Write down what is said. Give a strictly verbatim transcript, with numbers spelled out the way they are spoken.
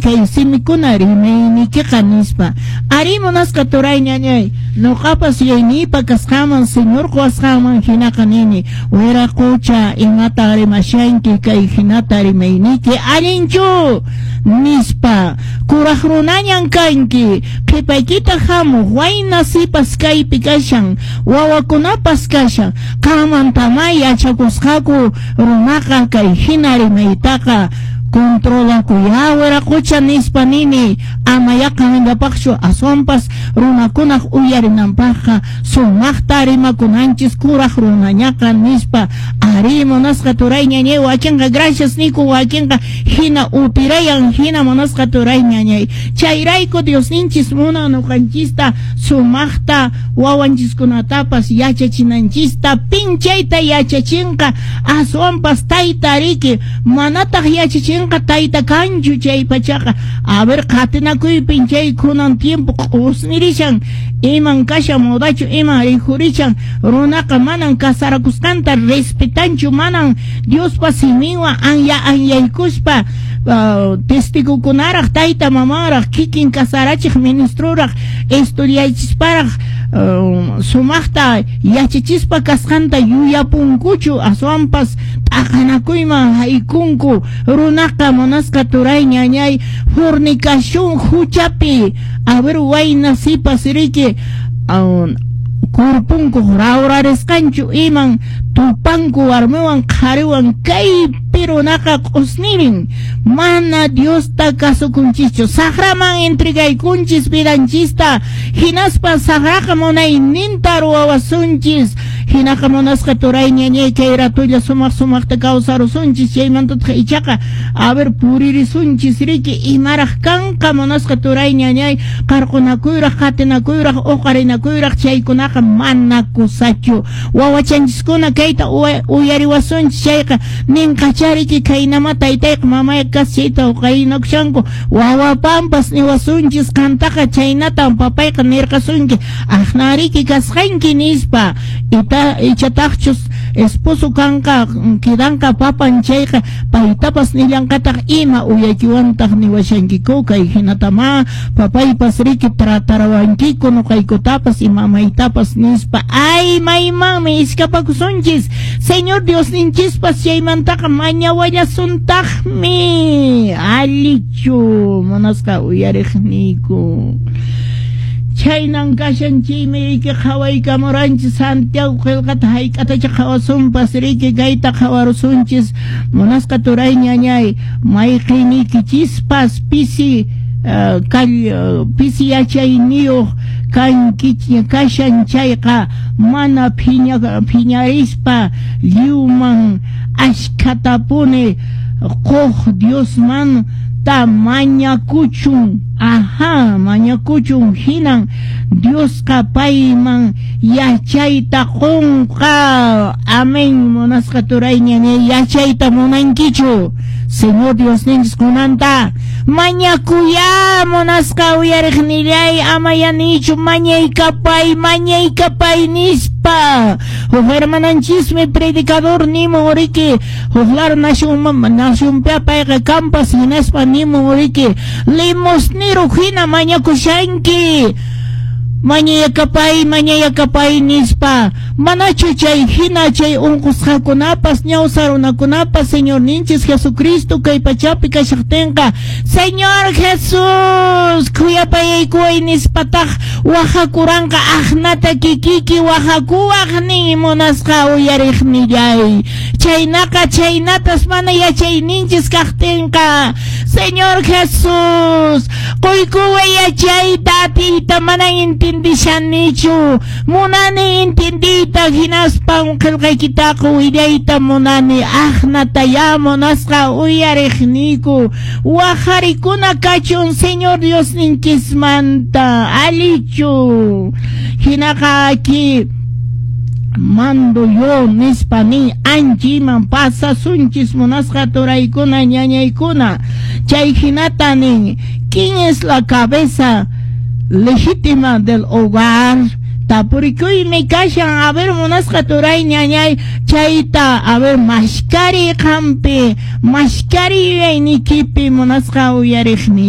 Kay simikuna rimaynikiqa nispa. Ari, munasqa turay ñañay, noqapas yuyayniypa kasqanman, Señor qowasqanman hinaqa nini: wiraqocha, imata rimashanki? Kay hinata rimayniki allinchu nispa. Kuraq runañan kanki, qhipaykita hamuq wayna sipas kaypi kashan, wawakunapas kashan, qanmantamá yachakusqaku runaqa kay hina rimaytaqa. Controlakuya, wiraqocha, nispa nini. Ama yaqanllapaqchu, aswanpas runakunaq uyarinanpaqqa sumaqta rimakunanchis kuraq runañaqa nispa. Ari, munasqa turay ñañay, wakinqa gracias niku, wakinqa hina upirayan hina, munasqa turay ñañay. Chayrayku Diosninchis munan nuqanchista sumaqta wawanchiskunatapas yachachinanchista. Pinchayta yachachinqa aswanpas tayta riki, manataq yachachinqa tayta kanchu chay pachaqa. A ver, qatinakuypin chay kunan tiempo q'usnirishan, iman kashan modachu, iman rikhurishan. Runaqa manan casarakusqanta respetanchu, manan Diospa siminwan anya anyaykuspa, uh, testigokunaraq, tayta mamanraq, kikin casarachiq ministroraq estudiachisparaq, uh, sumaqta yachachispa kasqanta yuyapunkuchu, aswanpas t'aqanakuyman haykunku runaqa, munasqa turay ñañay, fornicación huchapi. A ver, wayna sipas riki, uh, kurpunku rawrarisqanchu, iman tupanku warmiwan qhariwan. Kaypi runaqa q'usnirin, mana Diosta kasukunchischu, saqraman entregaykunchis vidanchista, hinaspa saqraqa munayninta ruwawasunchis. Hinaqa, munasqa turay ñañay, kay ratulla sumaq sumaqta kawsarusunchis, chaymantataq ichaqa a ver puririsunchis riki, imaraq kanqa, munasqa turay ñañay, qarqunakuyraq, qatinakuyraq, uqarinakuyraq, chaykunaqa mana kusachu. Wawachanchiskuna kayta uyariwasunchis chayqa ninqachariki, kaynama taytayqa mamayqa kas chayta uqarinakushanku. Wawapampas niwasunchis, qantaqa chaynatan papayqa nirqasunki, aqnariki kasqanki nispa. Ita ichataqchus esposo kanqa, quedanqa papan chayqa, paytapas nillanqataq, ima uyaykiwantaq niwashankiku? Kay hinatama papaypas riki tratarawankiku nuqaykutapas y mamaytapas nispa. Ay, maymanmi iskapakusunchis. Señor Diosninchispas chaymantaqa mañawallasuntaqmi. Allichu, munasqa uyariqniyku? Chaynan kashan. Chaymi riki qhawaykamuranchis Santiago qillqata, hayk'atacha qhawasunpas riki, kayta qhawarusunchis, munasqa turay ñañay. Mayqinikichispas pisi uh, kall, uh, pisi yachayniyuq kanki kashan chayqa, mana phiña phiñarispa lliwman ashkhatapuni quq Diosman ta mañakuchun. Ajá, mañakuchun, hinan Diosqa payman yachayta qunqa. Amén. Munasqa turay ñañay, yachayta munankichu? Señor Diosninchis kunanta mañakuya, munasqa uyariqnillay, ama yanichu, mañaykapay, mañaykapay nispa. Huk hermananchismi predicador nimun riki, huk lar nación nacionpi payqa kampas, hinaspa nimun riki, limosnero hina mañakushanki, mañayakapay, mañayakapay nispa. Manachu chay hina chay unqusqakunapas, ñawsa runakunapas, Señorninchis Jesucristo kay pachapi kashaqtinqa, Señor Jesús, khuyapayaykuway nispataq wajakuranqa? Aqnata kikiki wajakuwaq nin, munasqa uyariqnillay. Chaynaqa chaynatas mana yachayninchis kaqtinqa, Señor Jesús, quykuway yachayta, atiyta, mana intindishanichu, munani intindiyta, hinaspan qillqaykitaqa willayta munani. Aqnataya, munasqa uyariqniyku, wajarikuna kachun Señor Diosninchismanta. Allichu? Hinaqa aquí mando yo nispa nin. Anchiman pasasunchis, munasqa turaykuna, ñañaykuna. Chay hinata nin: ¿quién es la cabeza legítima del hogar? Tapurikuymi kashan. A ver, munasqa turay ñañay, chayta a ver mashkari qampi, mashkari yuyaynikipi, munasqa uyariqni.